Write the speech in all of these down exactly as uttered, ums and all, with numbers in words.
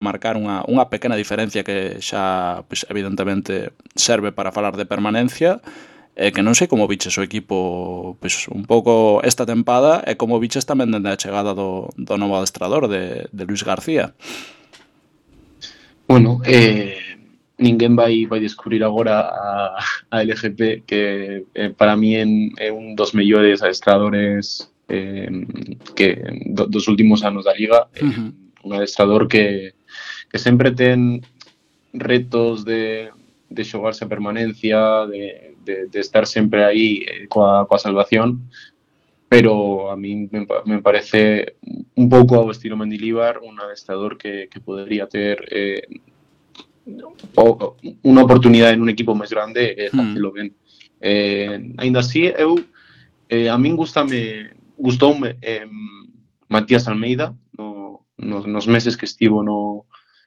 marcar unha, unha pequena diferencia que xa, pois, evidentemente, serve para falar de permanencia, e que non sei como viches o equipo, pois, un pouco esta tempada, e como viches tamén dende a chegada do, do novo adestrador, de, de Luis García. Bueno, eh, ninguén vai vai descubrir agora a, a L G P, que eh, para mí en, é un dos mellores adestradores eh, que do, dos últimos anos da Liga. Eh, Uh-huh. un adestrador que, que sempre ten retos de, de xogarse a permanencia, de, de, de estar sempre aí eh, coa, coa salvación, pero a mí me, me parece un pouco ao estilo Mendilibar, un adestrador que, que podría ter eh, o, unha oportunidade en un equipo máis grande e facelo ben. Eh, ainda así, eu eh, a min gustame gustoume eh, Matías Almeida no, nos, nos meses que estivo no,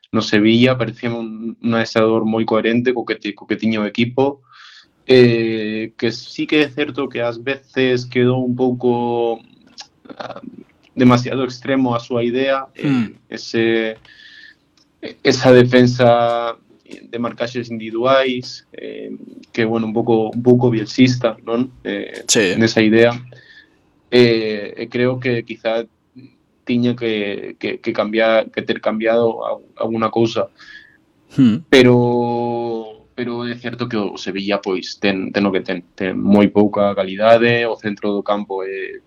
no Sevilla. Parecía un, un adestrador moi coherente co que, te, co que tiña o equipo, eh, que sí que é certo que ás veces quedou un pouco uh, demasiado extremo a súa idea, eh, Hmm. ese esa defensa de marcaxes individuais, eh, que, bueno, un pouco un pouco bielsista, non? Eh, Sí. nesa idea. Eh, e creo que quizá tiña que, que, que cambiar, que ter cambiado alguna cousa. Hmm. Pero pero é certo que o Sevilla pois ten, ten o que ten, ten moi pouca calidade, o centro do campo é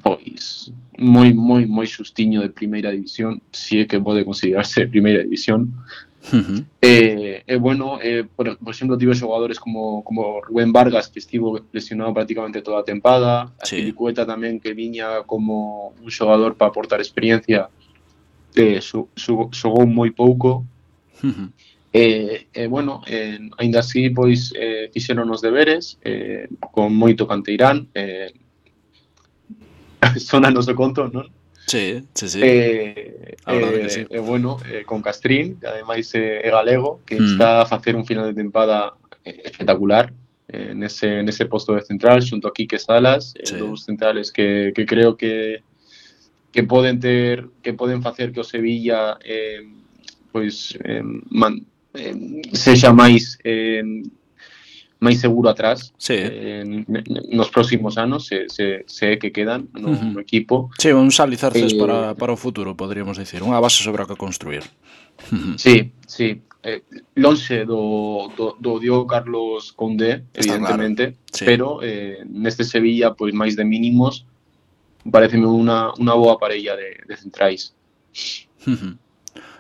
pois moi moi moi xustiño de primeira división, si é que pode considerarse primeira división. Uh-huh. Eh, eh, bueno, eh, por, por exemplo, tive xogadores como, como Rubén Vargas, que estivo lesionado prácticamente toda a tempada, a Sí. Pilicueta tamén, que viña como un xogador para aportar experiencia, eh, xogou moi pouco. Uh-huh. E, eh, bueno, eh, ainda así, pois, eh, fixeron os deberes, eh, con moito canteirán, eh, sona no seu conto, non? Sí, sí, sí. Eh, A verdade eh, que sí. eh, bueno, eh, con Castrín, que ademais é eh, galego, que Mm. está a facer un final de tempada eh, espectacular eh, nese, nese posto de central, xunto a Quique Salas, eh, Sí. dous centrales que, que creo que que poden ter, que poden facer que o Sevilla eh, pois eh, man, eh, sexa máis eh, máis seguro atrás, Sí. eh, nos próximos anos, se, se, se é que quedan no, Uh-huh. no equipo. Sí, uns alicerces Eh, para, para o futuro, poderíamos dicir, unha base sobre a que construir. Uh-huh. Sí, sí. Eh, lonxe do, do, do Diogo Carlos Koundé, Está evidentemente, claro, sí. pero eh, neste Sevilla, pois máis de mínimos, pareceme unha, unha boa parella de, de centrais. Uh-huh.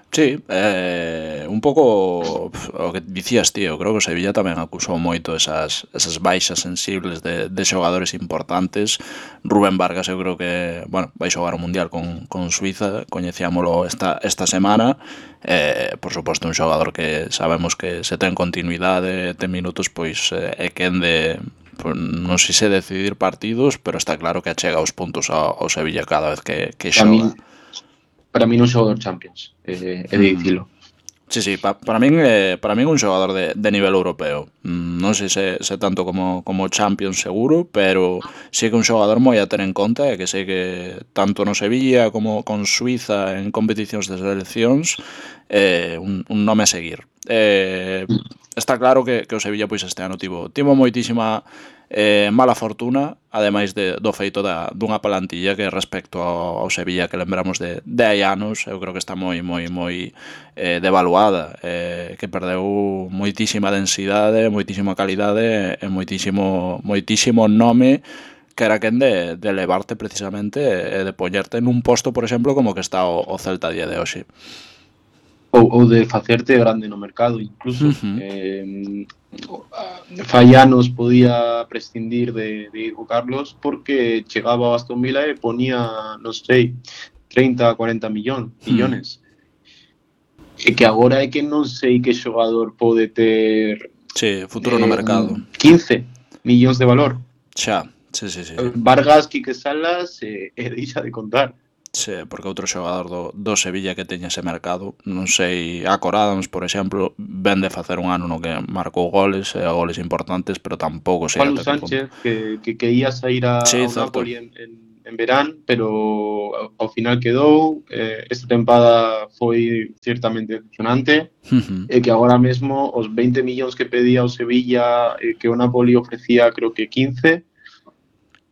Sí, eh, un pouco o que dicías, tío, creo que o Sevilla tamén acusou moito esas, esas baixas sensibles de, de xogadores importantes. Rubén Vargas eu creo que, bueno, vai xogar o Mundial con, con Suiza, coñecíamolo esta, esta semana. Eh, por suposto, un xogador que sabemos que se ten continuidade, ten minutos, pois eh, é quen de, pues, non sei se decidir partidos, pero está claro que achega os puntos ao, ao Sevilla cada vez que, que Para xoga. min, para min un xogador Champions, eh, é de dicilo. Sí, sí, pa, para min eh, para min un xogador de, de nivel europeo. Mm, non sei se, se tanto como, como Champions seguro, pero sí que un xogador moi a ter en conta, e que sei que tanto no Sevilla como con Suiza en competicións de seleccións, eh, un, un nome a seguir. Eh, está claro que, que o Sevilla pois este ano tivo, tivo moitísima eh, mala fortuna, ademais de, do feito da, dunha plantilla que respecto ao, ao Sevilla que lembramos de, de hai anos, eu creo que está moi moi moi eh, devaluada, eh, que perdeu moitísima densidade, moitísima calidade e moitísimo moitísimo nome que era quen de, de levarte precisamente e de poñerte nun posto, por exemplo, como que está o, o Celta a día de hoxe. Ou, ou de facerte grande no mercado, incluso. Uh-huh. Eh, fai anos podía prescindir de, de Diego Carlos porque chegaba a Aston Villa e ponía, non sei, treinta a cuarenta millón, millones. Uh-huh. E que agora é que non sei que xogador pode ter sí, futuro eh, no mercado. quince millóns de valor. Xa, sí, sí, sí. Vargas, Quique Salas e eh, deixa de contar. Sí, porque outro xogador do, do Sevilla que teña ese mercado, non sei, Acor Adams, por exemplo, ven de facer un ano no que marcou goles, e goles importantes, pero tampouco sei Pablo ata que Sánchez, punto. que, que, que ia sair a, Sí, ao Napoli en, en, en verán, pero ao, ao final quedou. Eh, esta tempada foi ciertamente decepcionante, Uh-huh. e que agora mesmo os veinte millóns que pedía o Sevilla, e que o Napoli ofrecía creo que quince,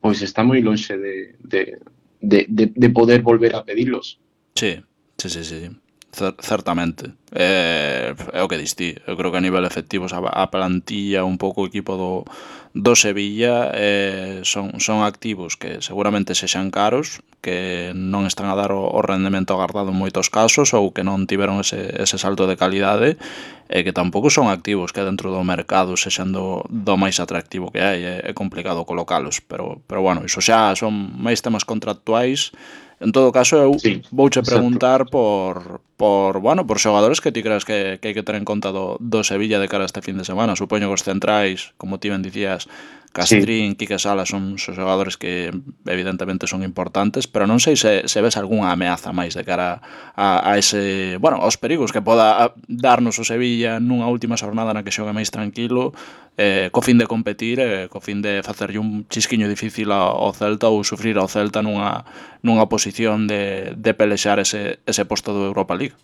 pois está moi lonxe de, de, de, de, de poder volver a pedirlos. Sí, sí, sí, sí. Cer- certamente. É, é o que dis ti. Eu creo que a nivel efectivos a, a plantilla, un pouco o equipo do, do Sevilla eh, son, son activos que seguramente sexan caros, que non están a dar o, o rendemento agardado en moitos casos ou que non tiveron ese, ese salto de calidade, e que tampouco son activos que dentro do mercado sexan do, do máis atractivo que hai. É, é complicado colocalos, pero, pero bueno, iso xa son máis temas contractuais. En todo caso, eu Sí, vouche exacto. preguntar por, por, bueno, por xogadores que ti creas que, que hai que ter en conta do, do Sevilla de cara a este fin de semana. Supoño que os centrais, como ti ben dicías, Castrín, sí. Quique Sala son xogadores que evidentemente son importantes, pero non sei se, se ves algunha ameaza máis de cara a, a ese, bueno, aos perigos que poda darnos o Sevilla nunha última xornada na que xogue máis tranquilo, eh, co fin de competir, eh, co fin de facerlle un chisquiño difícil ao Celta ou sufrir ao Celta nunha, nunha posición de, de pelexar ese, ese posto do Europa League.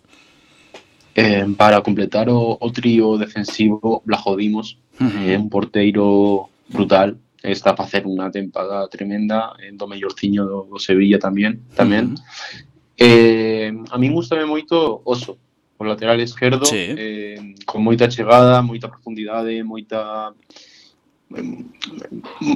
Eh, para completar o, o trío defensivo, Blajo Dimos, uh-huh. eh, un porteiro brutal, está a facer unha tempada tremenda, en do mellorciño do, do Sevilla tamén, tamén. Uh-huh. Eh, a min gustame moito Oso, o lateral esquerdo, sí. eh, con moita chegada, moita profundidade, moita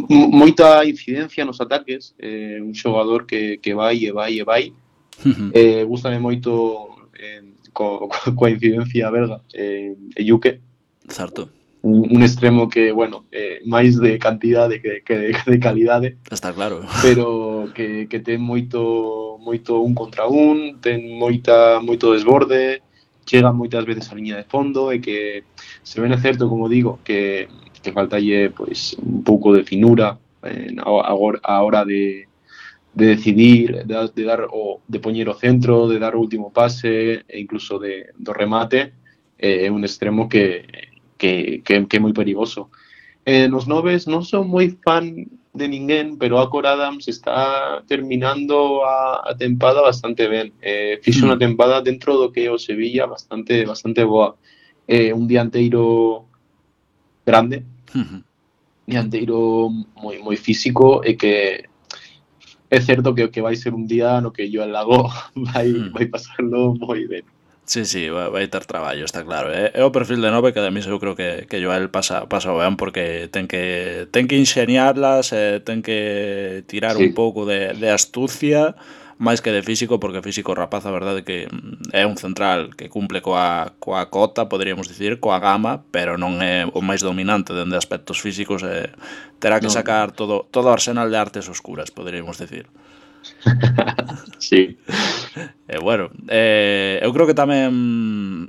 moita incidencia nos ataques, eh, un xogador que, que vai e vai e vai. Uh-huh. Eh, gustame moito eh, co, co, coa incidencia belga, eh, Yuke. Certo. Un, un extremo que, bueno, eh, máis de cantidade que, que de calidade. Está claro. Pero que, que ten moito moito un contra un, ten moita moito desborde, chega moitas veces á liña de fondo, e que se ven é certo, como digo, que, que faltalle pois, un pouco de finura eh, a, a hora de de decidir, de, de dar o de poñer o centro, de dar o último pase, e incluso de do remate. É eh, un extremo que Que, que, que é moi perigoso. Eh, nos noves non son moi fan de ninguén, pero Acor Adams está terminando a, a tempada bastante ben. Eh, fixo unha tempada dentro do que é o Sevilla bastante bastante boa. Eh, un dianteiro grande, uh-huh. dianteiro moi moi físico, e que é certo que, que vai ser un día no que Joan Lago vai, uh-huh. vai pasarlo moi ben. Sí, sí, vai, vai ter traballo, está claro. É, é o perfil de nove que ademais eu creo que, que Joel pasa, pasa ben, porque ten que ten que ingeniarlas, eh, ten que tirar sí. un pouco de, de astucia, máis que de físico, porque físico rapaz, a verdade que é un central que cumple coa, coa cota, poderíamos dicir, coa gama, pero non é o máis dominante dende aspectos físicos, eh, terá que no. sacar todo, todo o arsenal de artes oscuras, poderíamos dicir. Sí. Eh, bueno, eh, eu creo que tamén,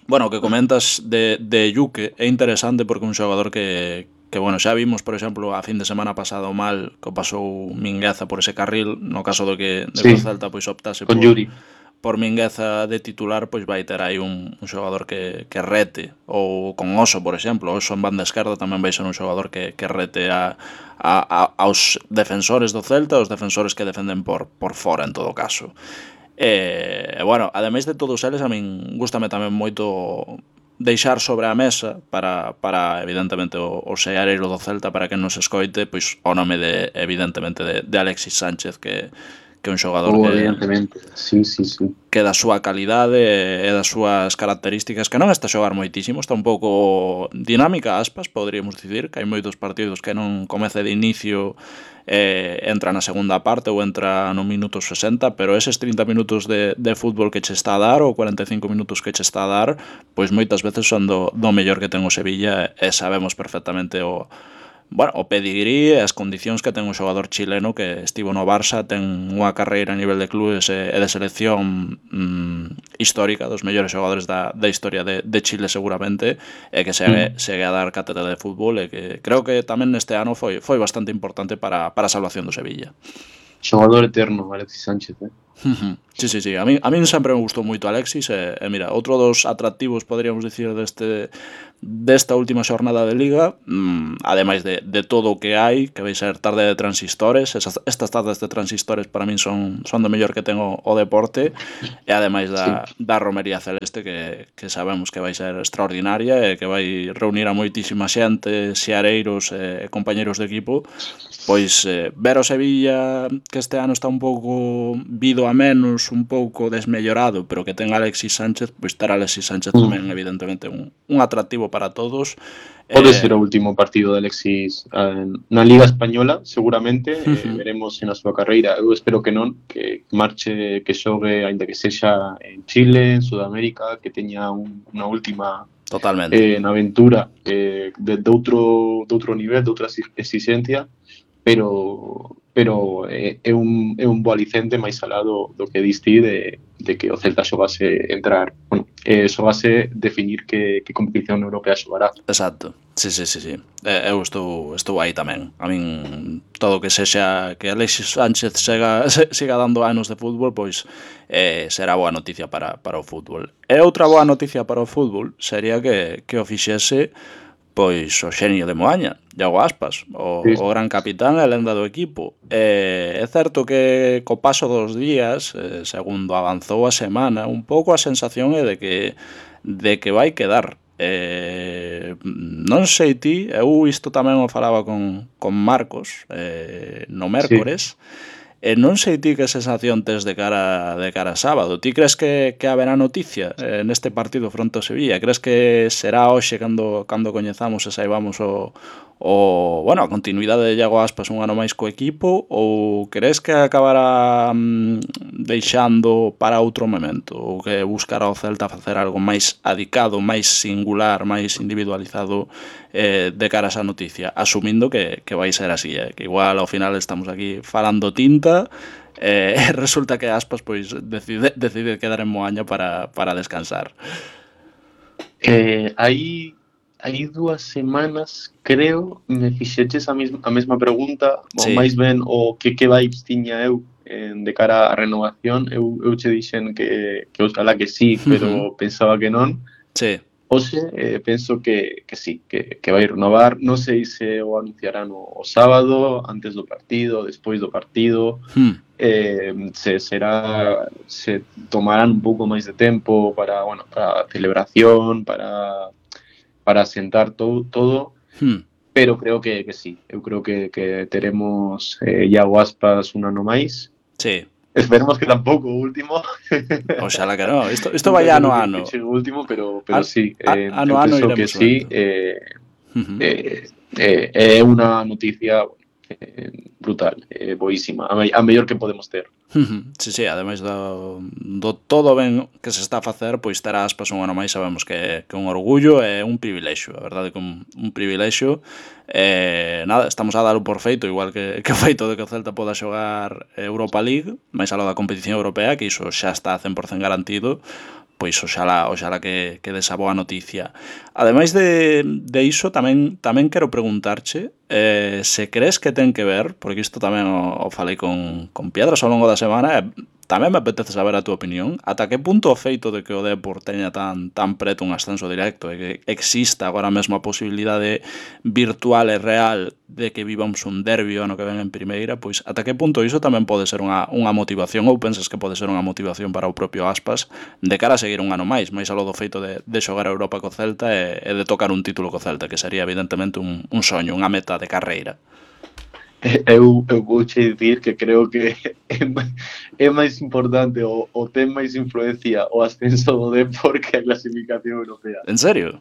bueno, o que comentas de, de Yuke é interesante, porque un xogador que, que, bueno, xa vimos, por exemplo, a fin de semana pasado mal que pasou Mingueza por ese carril, no caso do que de sí. Celta pois optase con por, Yuri. por Mingueza de titular, pois vai ter aí un, un xogador que, que rete, ou con Oso, por exemplo. Oso en banda esquerda tamén vai ser un xogador que, que rete a, a, a, aos defensores do Celta, aos defensores que defenden por, por fora, en todo caso. E, bueno, ademais de todos eles, a min gústame tamén moito deixar sobre a mesa para, para evidentemente, o, o seareiro do Celta, para que nos escoite, pois o nome de, evidentemente, de, de Alexis Sánchez, que que é un xogador oh, que, evidentemente. Sí, sí, sí. que da súa calidade e das súas características, que non está a xogar moitísimo, está un pouco dinámica, aspas, poderíamos dicir, que hai moitos partidos que non comece de inicio, eh, entra na segunda parte ou entra no minuto sesenta, pero eses trinta minutos de, de fútbol que che está a dar, ou cuarenta e cinco minutos que che está a dar, pois moitas veces son do, do mellor que ten o Sevilla, e sabemos perfectamente o bueno, o pedigrí e as condicións que ten un xogador chileno que estivo no Barça, ten unha carreira a nivel de clubes e de selección mm, histórica, dos mellores xogadores da, da historia de, de Chile seguramente, e que segue, mm. segue a dar cátedra de fútbol, e que creo que tamén neste ano foi, foi bastante importante para, para a salvación do Sevilla. Xogador eterno, Alexis Sánchez, eh? Ujú. Sí, sí, sí. A min, a min sempre me gustou moito Alexis e, e mira, outro dos atractivos, podríamos dicir, deste desta última xornada de Liga, mm, ademais de, de todo o que hai, que vai ser tarde de transistores, esas, estas tardes de transistores para min son, son do mellor que ten o, o deporte, e ademais Sí. da, da romería celeste que, que sabemos que vai ser extraordinaria e que vai reunir a moitísima xente, xeareiros e compañeros de equipo. Pois eh, ver o Sevilla, que este ano está un pouco vido a menos, un pouco desmellorado, pero que ten Alexis Sánchez, pois ter Alexis Sánchez Mm. tamén evidentemente un, un atractivo para todos. Pode Eh, ser o último partido de Alexis eh, na Liga Española, seguramente, eh, uh-huh, veremos na súa carreira. Eu espero que non, que marche, que xogue, aínda que sexa en Chile, en Sudamérica, que teña un, unha última totalmente. eh, na aventura eh, de, de, outro, de outro nivel, de outra exigencia, pero pero é, é, un, é un bo alicente máis alá do, do que diste de, de que o Celta xogase entrar, bueno, eh, xogase definir que, que competición europea xogará. Exacto. Sí, sí, sí, sí. Eh, eu estou, estou aí tamén. A min, todo o que sexa que Alexis Sánchez sega, se, siga dando anos de fútbol, pois eh, será boa noticia para, para o fútbol. E outra boa noticia para o fútbol sería que, que o fixese pois o xenio de Moaña, Iago Aspas, o, Sí. o gran capitán e lenda do equipo. E é certo que co paso dos días, eh, segundo avanzou a semana, un pouco a sensación é de que de que vai quedar. Eh, non sei ti, eu isto tamén o falaba con, con Marcos eh, no Sí. mércores, e non sei ti que sensación tes de cara de cara a sábado. Ti crees que, que haberá noticia eh, neste partido fronte ao Sevilla? Crees que será hoxe cando, cando coñezamos e saibamos o, o, bueno, a continuidade de Iago Aspas un ano máis co equipo, ou crees que acabará mm, deixando para outro momento, ou que buscará o Celta facer algo máis adicado, máis singular, máis individualizado eh, de cara a esa noticia, asumindo que, que vai ser así, eh, que igual ao final estamos aquí falando tinta e eh, resulta que Aspas pois decide, decide quedar en Moaña para, para descansar. Eh, aí hai dúas semanas, creo, me fixeches a, mes, a mesma pregunta, ou Sí. máis ben o que que vibes tiña eu en, de cara á renovación. Eu, eu che dixen que, que oxalá que sí, pero Uh-huh. pensaba que non. Sí. Oxe, eh, penso que, que sí, que, que vai renovar. Non sei se o anunciarán o, o sábado, antes do partido, despois do partido. Hmm. Eh, se será, se tomarán un pouco máis de tempo para, bueno, para a celebración, para para sentar todo, todo Hmm. pero creo que, que sí. Eu creo que, que teremos eh, Iago Aspas un ano máis. Sí. Esperemos que tampouco o último. Oxalá que non. Isto, isto vai ano a ano. Que chegue o último, pero, pero An, sí. a, Eh, ano eu a ano penso que iremos sí. vendo. Eh, Uh-huh. eh, eh, é unha noticia eh, brutal, eh, boísima, a, me, a mellor que podemos ter. Uh-huh. Sí, sí, ademais do, do todo ben que se está a facer, pois ter Aspas un ano máis sabemos que, que un orgullo e un privilexio, a verdade que un, un privilexio. Eh, nada, estamos a dalo por feito, igual que, que o feito de que o Celta poda xogar Europa League, máis aló da competición europea, que iso xa está cen por cento garantido, pois oxalá, oxalá que, que desa boa noticia. Ademais de, de iso, tamén tamén quero preguntarche eh, se crees que ten que ver, porque isto tamén o, o falei con, con Piedras ao longo da semana, e tamén me apetece saber a túa opinión, ata que punto o feito de que o Depor teña tan, tan preto un ascenso directo e que exista agora mesmo a posibilidade virtual e real de que vivamos un derbi ano que ven en primeira, pois ata que punto iso tamén pode ser unha, unha motivación, ou pensas que pode ser unha motivación para o propio Aspas de cara a seguir un ano máis, máis aló do feito de, de xogar a Europa co Celta e, e de tocar un título co Celta, que sería evidentemente un, un soño, unha meta de carreira. Eu, eu vou che dicir que creo que é, é máis importante o, o ten máis influencia o ascenso do Depor que a clasificación europea. En serio?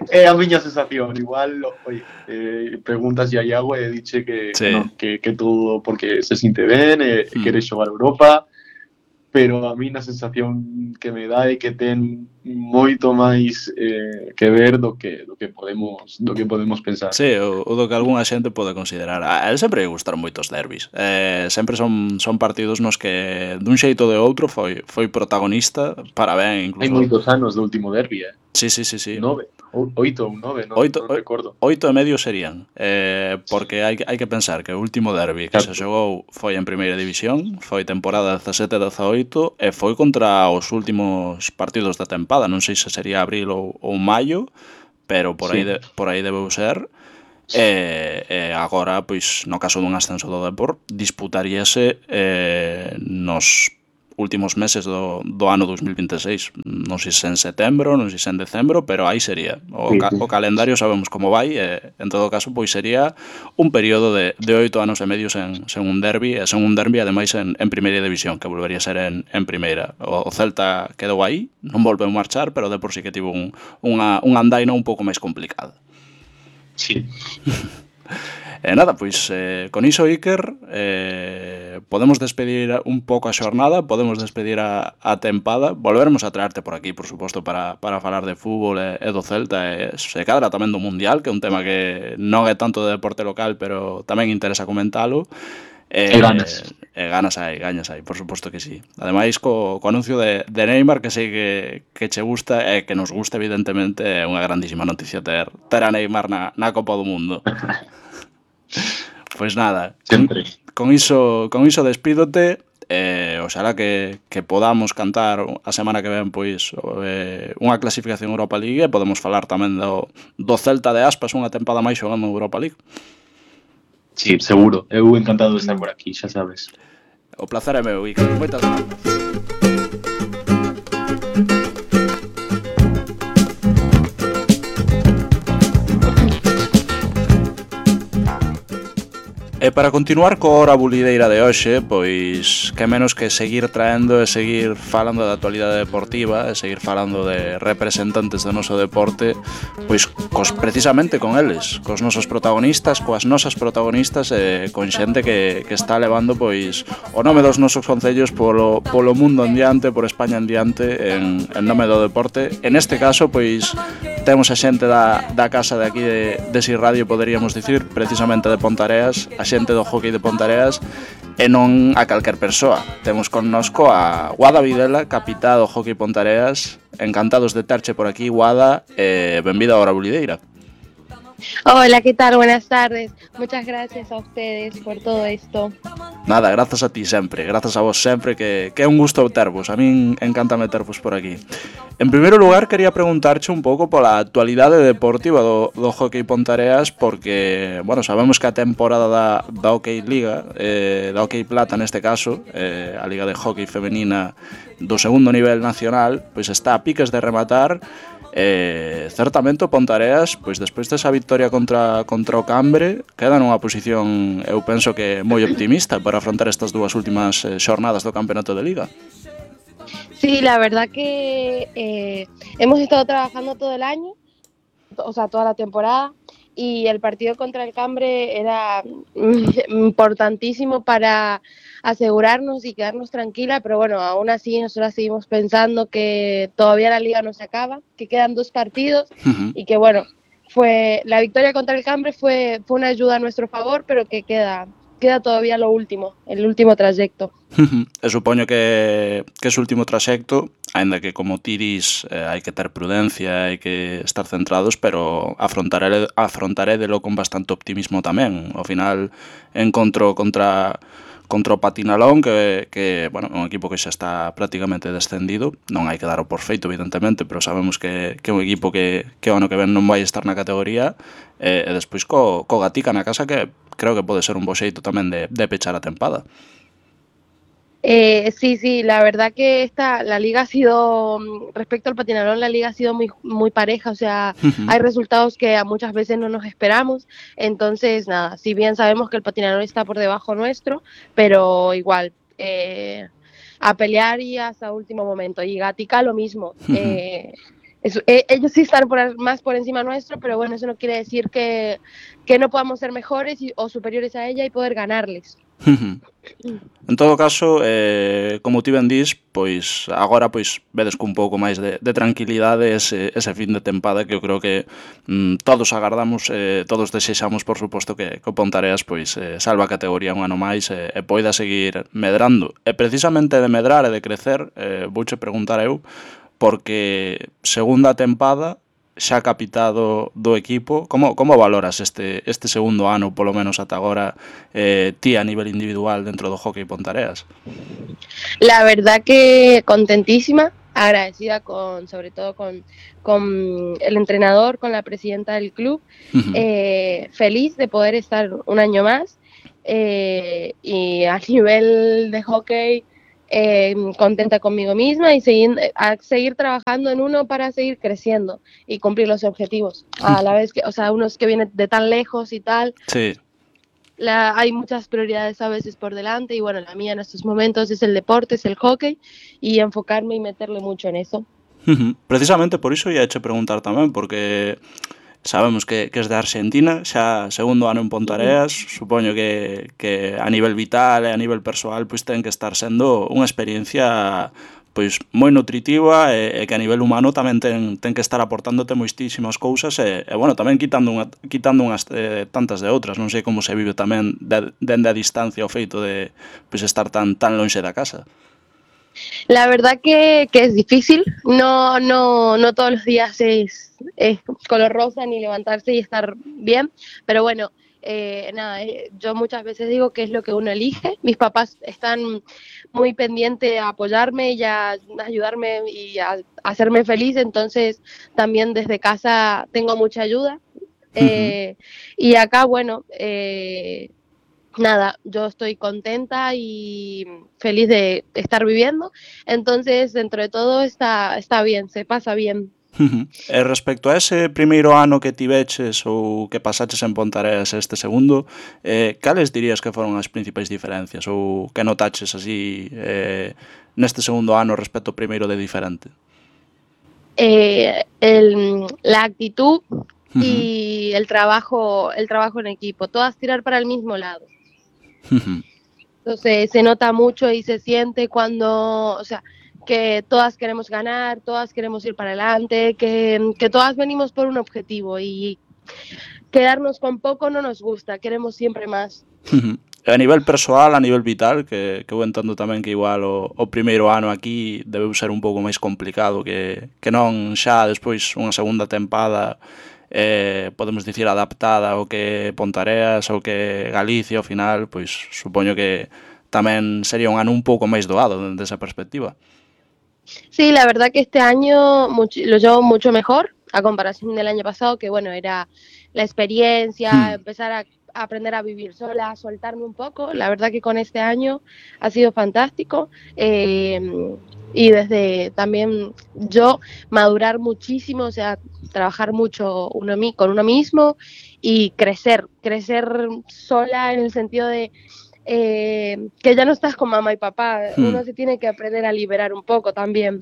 É a miña sensación. Igual, oye, eh, preguntas a Iago e diche que, sí. que, non, que, que todo porque se sinte ben e hmm. quere xogar a Europa, pero a mí na sensación que me dá é que ten moito máis eh, que ver do que do que podemos do que podemos pensar. Sí, o, o do que algunha xente pode considerar. A él sempre lle gustaron moitos derbis. Eh, sempre son son partidos nos que dun xeito de outro foi foi protagonista para ben incluso. Hai moitos anos do último derbi, eh. Sí, sí, sí, sí. Nove. Oito ou nove, non, Oito, non recordo. oito e medio serían, eh, porque hai, hai que pensar que o último derbi que se xogou foi en primeira división, foi temporada dezasete dezaoito e foi contra os últimos partidos da tempada, non sei se sería abril ou, ou maio, pero por aí, Sí. de, por aí debeu ser. E, e agora, pois, no caso dun ascenso do Depor, disputaríase eh, nos últimos meses do, do ano dos mil vinte e seis. Non sei se en setembro, non sei se en decembro, pero aí sería. O, Sí, ca, sí. o calendario sabemos como vai, e en todo caso, pois sería un período de, de oito anos e medio sen, sen un derbi, e sen un derbi ademais en, en primeira división, que volvería a ser en, en primeira. O, o Celta quedou aí, non volveu marchar, pero de por si que tivo un, unha, un andaina un pouco máis complicado. Sí. E nada, pois eh, con iso, Iker, eh, podemos despedir un pouco a xornada, podemos despedir a, a tempada, volveremos a traerte por aquí, por suposto, para, para falar de fútbol e, e do Celta, e se cadra tamén do Mundial, que é un tema que non é tanto de deporte local, pero tamén interesa comentalo. E ganas. E ganas hai, ganas hai, por suposto que sí. Ademais, co, co anuncio de, de Neymar, que sei que, que che gusta e que nos gusta, evidentemente, é unha grandísima noticia ter, ter a Neymar na, na Copa do Mundo. Pois nada, con, con iso con iso despídote, e oxalá que, que podamos cantar a semana que ven pois eh, unha clasificación Europa League, e podemos falar tamén do, do Celta de Aspas unha tempada máis xogando en Europa League. Sí, seguro. Eu encantado de estar por aquí, xa sabes. O placer é meu, Iker. Moitas grazas. E para continuar co hora bulideira de hoxe, pois que menos que seguir traendo e seguir falando da actualidade deportiva, e seguir falando de representantes do noso deporte, pois cos, precisamente con eles, cos nosos protagonistas, coas nosas protagonistas, e con xente que, que está levando pois o nome dos nosos concellos polo, polo mundo en diante, por España en diante, en, en nome do deporte. En este caso, pois temos a xente da, da casa de aquí de, de Si Radio, poderíamos dicir, precisamente de Pontareas, a xente do hockey de Pontareas, e non a calquer persoa. Temos connosco a Guada Videla, capitá do hockey Pontareas. Encantados de terche por aquí, Guada, e benvida a Hora Bulideira. Hola, ¿qué tal? Buenas tardes. Muchas gracias a ustedes por todo esto. Nada, grazas a ti sempre, grazas a vos sempre, que, que é un gusto tervos. A min encanta metervos por aquí. En primeiro lugar, quería preguntarche un pouco pola actualidade deportiva do, do hockey Pontareas, porque, bueno, sabemos que a temporada da, da Hockey Liga, eh, da Hockey Plata neste caso, eh, a Liga de Hockey Femenina do segundo nivel nacional, pois está a piques de rematar. E certamente o Pontareas, pois despois desa victoria contra, contra o Cambre, queda nunha posición, eu penso que moi optimista para afrontar estas dúas últimas eh, xornadas do campeonato de Liga. Sí, la verdad que eh, hemos estado trabajando todo el año, o sea, toda la temporada, y el partido contra el Cambre era importantísimo para asegurarnos y quedarnos tranquila, pero bueno, aún así nosotros seguimos pensando que todavía la liga no se acaba, que quedan dos partidos uh-huh. y que bueno, fue la victoria contra el Cambre fue, fue una ayuda a nuestro favor, pero que queda, queda todavía lo último, el último trayecto. Uh-huh. E supoño que, que ese último trayecto, ainda que como tiris eh, hai que ter prudencia, hai que estar centrados, pero afrontaré, afrontarédelo con bastante optimismo tamén. Ao final encontro contra contra o Patinalón, que, que bueno, é un equipo que xa está prácticamente descendido, non hai que dar o por feito, evidentemente, pero sabemos que, que é un equipo que, que o ano que ven non vai estar na categoría, e, e despois co, co Gatica na casa, que creo que pode ser un bo xeito tamén de, de pechar a tempada. Eh, sí, sí, la verdad que esta, la liga ha sido, respecto al Patinalón, la liga ha sido muy, muy pareja, o sea, uh-huh. hay resultados que a muchas veces no nos esperamos, entonces nada, si bien sabemos que el Patinalón está por debajo nuestro, pero igual, eh, a pelear y hasta último momento, y Gatica lo mismo, uh-huh. eh, es, eh, ellos sí están por, más por encima nuestro, pero bueno, eso no quiere decir que, que no podamos ser mejores y, o superiores a ella y poder ganarles. En todo caso, eh, como ti ben dís, pois agora pois vedes cun pouco máis de, de tranquilidade ese, ese fin de tempada, que eu creo que mm, todos agardamos, eh, todos desexamos, por suposto, que, que o Pontareas pois eh, salva a categoría un ano máis e, e poida seguir medrando. E precisamente de medrar e de crecer, eh, vouche preguntar eu, porque segunda tempada, xa capitado do equipo, como, como valoras este, este segundo ano, polo menos ata agora, eh, ti a nivel individual dentro do hockey Pontareas? La verdad que contentísima, agradecida con, sobre todo con, con el entrenador, con la presidenta del club, Uh-huh. eh, feliz de poder estar un año más eh, y a nivel de hockey eh, contenta conmigo misma y seguir, a seguir trabajando en uno para seguir creciendo y cumplir los objetivos. A la vez que, o sea, unos que vienen de tan lejos y tal, Sí. la, hay muchas prioridades a veces por delante y bueno, la mía en estos momentos es el deporte, es el hockey y enfocarme y meterle mucho en eso. Uh-huh. Precisamente por iso ia che preguntar tamén, porque sabemos que, que es de Argentina, xa segundo ano en Pontareas, supoño que, que a nivel vital e a nivel persoal pois ten que estar sendo unha experiencia pois moi nutritiva e, e que a nivel humano tamén ten, ten que estar aportándote moitísimas cousas e, e bueno, tamén quitando, unha, quitando unhas eh, tantas de outras, non sei como se vive tamén de, dende a distancia o feito de pois estar tan tan lonxe da casa. La verdad que, que es difícil, no, no, no todos los días es, es color rosa ni levantarse y estar bien, pero bueno, eh, nada, eh, yo muchas veces digo que es lo que uno elige. Mis papás están muy pendientes a apoyarme y a ayudarme y a, a hacerme feliz, entonces también desde casa tengo mucha ayuda. Eh, uh-huh. Y acá, bueno, eh, nada, yo estoy contenta y feliz de estar viviendo, entonces dentro de todo está, está bien, se pasa bien. Uh-huh. E respecto a ese primeiro ano que tiveches ou que pasaches en Pontareas este segundo, eh, cales dirías que foron as principais diferencias ou que notaches así eh, neste segundo ano respecto ao primeiro de diferente? Eh, el, la actitud uh-huh. y el trabajo, el trabajo en equipo, todas tirar para el mismo lado. Uh-huh. Entonces se nota mucho y se siente cuando, o sea, que todas queremos ganar, todas queremos ir para adelante, que, que todas venimos por un objetivo y quedarnos con poco no nos gusta, queremos siempre más. Uh-huh. A nivel persoal, a nivel vital, que, que vou entendo tamén que igual o, o primeiro ano aquí debeu ser un pouco máis complicado que, que non xa despois unha segunda tempada eh, podemos dicir adaptada ao que Pontareas ou que Galicia ao final, pois supoño que tamén sería un ano un pouco máis doado desde esa perspectiva. Sí, la verdad que este año mucho, lo llevo mucho mejor a comparación del año pasado, que bueno, era la experiencia, hmm. empezar a, a aprender a vivir sola, a soltarme un poco. La verdad que con este año ha sido fantástico. Eh, y desde también yo madurar muchísimo, o sea, trabajar mucho uno, con uno mismo y crecer, crecer sola en el sentido de eh, que ya no estás con mamá y papá, hmm. uno se tiene que aprender a liberar un poco también.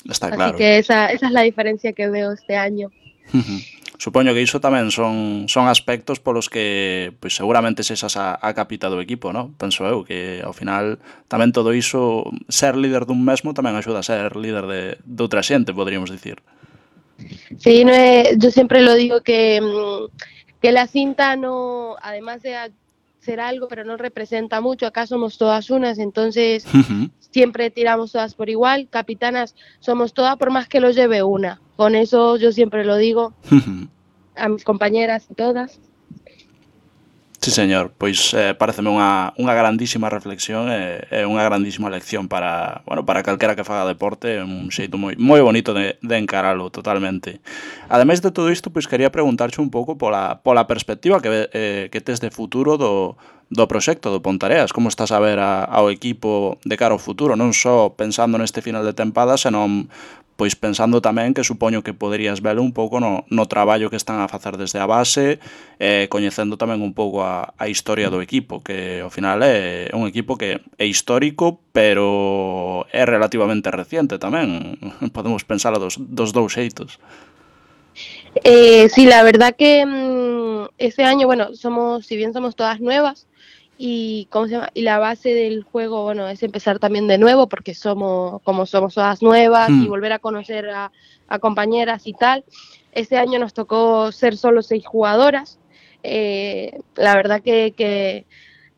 Está Así claro. que esa, esa es la diferencia que veo este año. Uh-huh. Supoño que iso tamén son, son aspectos polos que pois, seguramente sexas a, a capita do equipo, ¿no? Penso eu que ao final tamén todo iso, ser líder dun mesmo tamén axuda a ser líder de, de outra xente, poderíamos dicir. Sí, no es, yo siempre lo digo que, que la cinta no, además de ser algo, pero no representa mucho, acá somos todas unas, entonces uh-huh. siempre tiramos todas por igual, capitanas somos todas por más que lo lleve una, con eso yo siempre lo digo uh-huh. a mis compañeras y todas. Sí, señor, pois eh, pareceme unha, unha grandísima reflexión e eh, unha grandísima lección para, bueno, para calquera que faga deporte, un xeito moi, moi bonito de, de encaralo totalmente. Ademais de todo isto, pois quería preguntarche un pouco pola, pola perspectiva que, eh, que tes de futuro do, do proxecto do Pontareas, como estás a ver a, ao equipo de cara ao futuro, non só pensando neste final de tempada, senón pois pensando tamén que supoño que poderías velo un pouco no, no traballo que están a facer desde a base, eh, coñecendo tamén un pouco a, a historia do equipo, que ao final é un equipo que é histórico, pero é relativamente reciente tamén, podemos pensar dos, dos dous xeitos. Eh, sí, la verdad que mmm, ese año, bueno, somos, si bien somos todas nuevas, y cómo se llama, y la base del juego, bueno, es empezar también de nuevo porque somos como somos todas nuevas mm. y volver a conocer a, a compañeras y tal. Este año nos tocó ser solo seis jugadoras, eh, la verdad que, que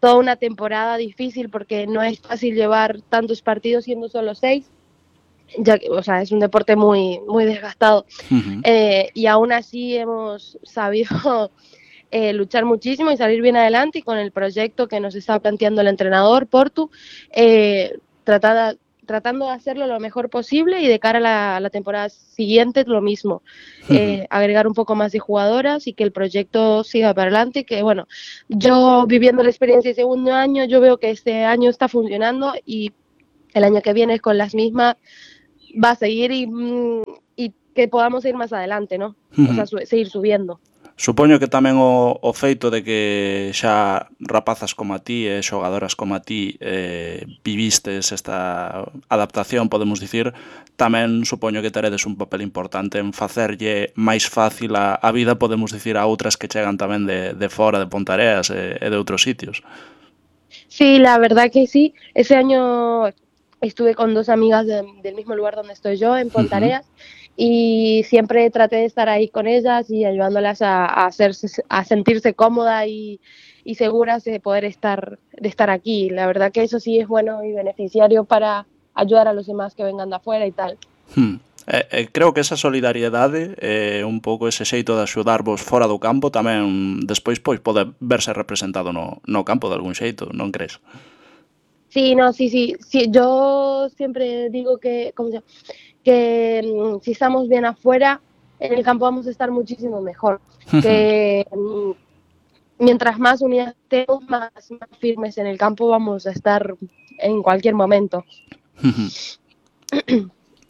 toda una temporada difícil porque no es fácil llevar tantos partidos siendo solo seis, ya que, o sea, es un deporte muy, muy desgastado. Uh-huh. Eh, y aún así hemos sabido eh, luchar muchísimo y salir bien adelante, y con el proyecto que nos está planteando el entrenador Portu, eh, tratada, tratando de hacerlo lo mejor posible, y de cara a la, a la temporada siguiente lo mismo, eh, Uh-huh. agregar un poco más de jugadoras y que el proyecto siga para adelante. Que bueno, yo viviendo la experiencia de segundo año, yo veo que este año está funcionando, y el año que viene con las mismas va a seguir, y, y que podamos ir más adelante, ¿no? Uh-huh. O sea, su seguir subiendo. Supoño que tamén o, o feito de que xa rapazas como a ti e xogadoras como a ti eh, vivistes esta adaptación, podemos dicir, tamén supoño que teredes un papel importante en facerlle máis fácil a, a vida, podemos dicir, a outras que chegan tamén de, de fora, de Pontareas e, e de outros sitios. Sí, la verdad que sí. Ese año estuve con dos amigas de, del mismo lugar donde estoy yo, en Pontareas, uh-huh. y siempre traté de estar ahí con ellas y ayudándolas a, a, hacerse, a sentirse cómodas y, y seguras de poder estar, de estar aquí. La verdad que eso sí es bueno y beneficiario para ayudar a los demás que vengan de afuera y tal. Hmm. Eh, eh, creo que esa solidariedade e eh, un pouco ese xeito de axudarvos fora do campo tamén despois pois pode verse representado no, no campo de algún xeito, non crees? Sí, no, sí, sí, sí, yo siempre digo que, ¿cómo se llama? que um, si estamos bien afuera, en el campo vamos a estar muchísimo mejor. Que um, mientras más unidas estemos, más, más firmes en el campo vamos a estar en cualquier momento.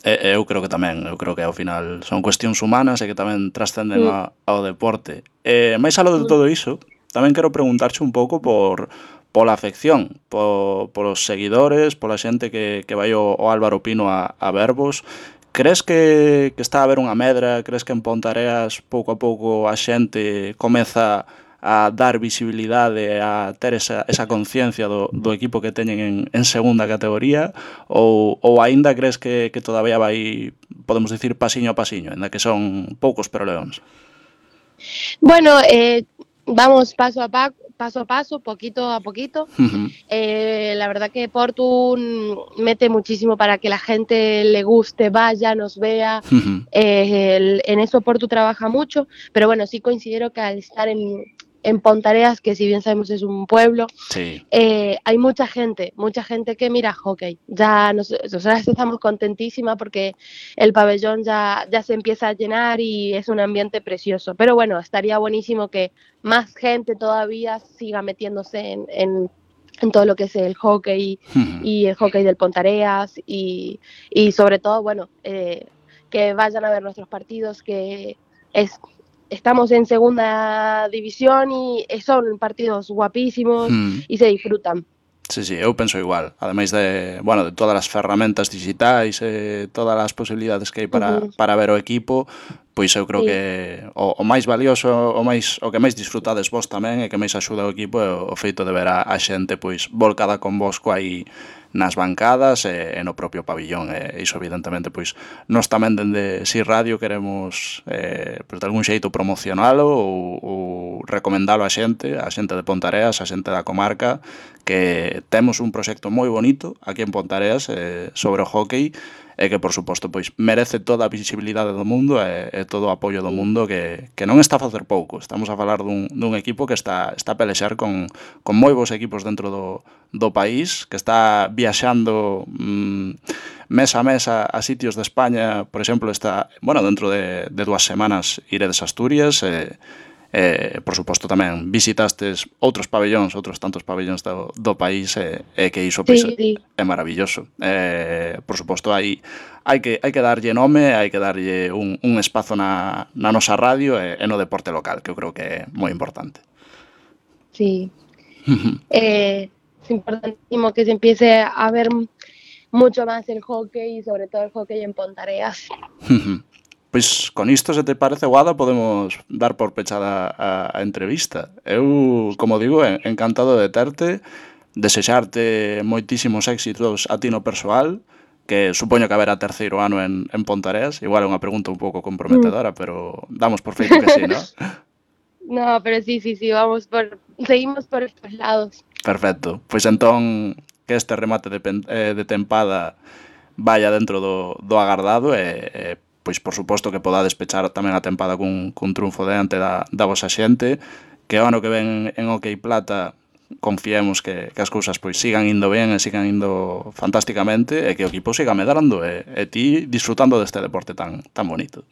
Eu creo que tamén, eu creo que ao final son cuestións humanas e que tamén trascenden mm. ao deporte. E máis aló de todo iso, tamén quero preguntarche un pouco por pola afección, por, polos seguidores, pola xente que, que vai o, o Álvaro Pino a, a vervos. Crees que, que está a haber unha medra? Crees que en Pontareas pouco a pouco a xente comeza a dar visibilidade, a ter esa, esa conciencia do, do equipo que teñen en, en segunda categoría, ou, ou aínda crees que, que todavía vai, podemos dicir, pasiño a pasiño, ainda que son poucos pero leóns? Bueno, eh, vamos paso a paso, paso a paso, poquito a poquito. Uh-huh. Eh, la verdad que Portu mete muchísimo para que la gente le guste, vaya, nos vea. Uh-huh. Eh, el, en eso Portu trabaja mucho, pero bueno, sí considero que al estar en, en Pontareas, que si bien sabemos es un pueblo, sí. eh, hay mucha gente, mucha gente que mira hockey. Ya nos, nosotras estamos contentísimas porque el pabellón ya, ya se empieza a llenar y es un ambiente precioso. Pero bueno, estaría buenísimo que más gente todavía siga metiéndose en, en, en todo lo que es el hockey uh-huh. y el hockey del Pontareas, y, y sobre todo, bueno, eh, que vayan a ver nuestros partidos, que es... Estamos en segunda división y son partidos guapísimos mm. y se disfrutan. Sí, sí, eu penso igual. Ademais de, bueno, de todas as ferramentas digitais e todas as posibilidades que hai para, uh-huh. para ver o equipo, pois eu creo sí. que o, o máis valioso, o máis o que máis disfrutades vos tamén e que máis axuda o equipo é o, o feito de ver a, a xente pois volcada convosco aí nas bancadas e, e no propio pabillón, e iso evidentemente pois nós tamén dende Si Radio queremos eh, pois, de algún xeito promocionalo ou, ou recomendalo a xente, a xente de Pontareas, a xente da comarca, que temos un proxecto moi bonito aquí en Pontareas eh, sobre o hockey, e que, por suposto, pois merece toda a visibilidade do mundo e, e todo o apoio do mundo, que, que non está a facer pouco. Estamos a falar dun, dun equipo que está, está a pelexar con, con moi bons equipos dentro do, do país, que está viaxando mmm, mes a mes a, a sitios de España. Por exemplo, está, bueno, dentro de, de dúas semanas iredes a Asturias, e Eh, por suposto tamén visitastes outros pabellóns, outros tantos pabellóns do, do país, e, e que iso pois, sí, sí. é maravilloso. Eh, por suposto, hai, hai, que, hai que darlle nome, hai que darlle un, un espazo na, na nosa radio e, e no deporte local, que eu creo que é moi importante. Sí. eh, es importantísimo que se empiece a ver mucho más el hockey, y sobre todo el hockey en Pontareas. Pois con isto, se te parece, Guada, podemos dar por pechada a, a entrevista. Eu, como digo, encantado de terte, desexarte moitísimos éxitos a ti no persoal, que supoño que haberá terceiro ano en, en Pontareas. Igual é unha pregunta un pouco comprometedora, mm. pero damos por feito que sí, ¿no? No, pero sí, sí, sí, vamos por, seguimos por estos lados. Perfecto. Pois entón, que este remate de, pen, eh, de tempada vaya dentro do, do agardado e, e pois por suposto que podades pechar tamén a tempada cun, cun triunfo diante da, da vosa xente, que o ano que ven en OK Plata confiemos que, que as cousas pois sigan indo ben e sigan indo fantásticamente e que o equipo siga medrando e, e ti disfrutando deste deporte tan, tan bonito.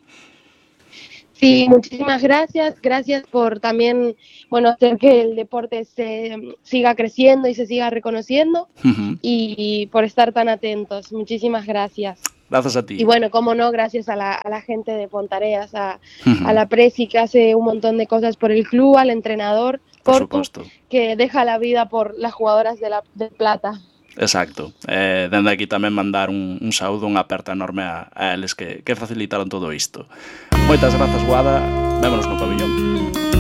Sí, muchísimas gracias. Gracias por también, bueno, hacer que el deporte se siga creciendo y se siga reconociendo Uh-huh. y por estar tan atentos. Muchísimas gracias. Gracias a ti. Y bueno, cómo no, gracias a la, a la gente de Pontareas, a, Uh-huh. a la Presi que hace un montón de cosas por el club, al entrenador, Por Portu, suposto. que deja la vida por las jugadoras de, la, de Plata. Exacto. Eh, dende aquí tamén mandar un, un saúdo, unha aperta enorme a, a eles que, que facilitaron todo isto. Moitas grazas, Guada. Vémonos no pabillón.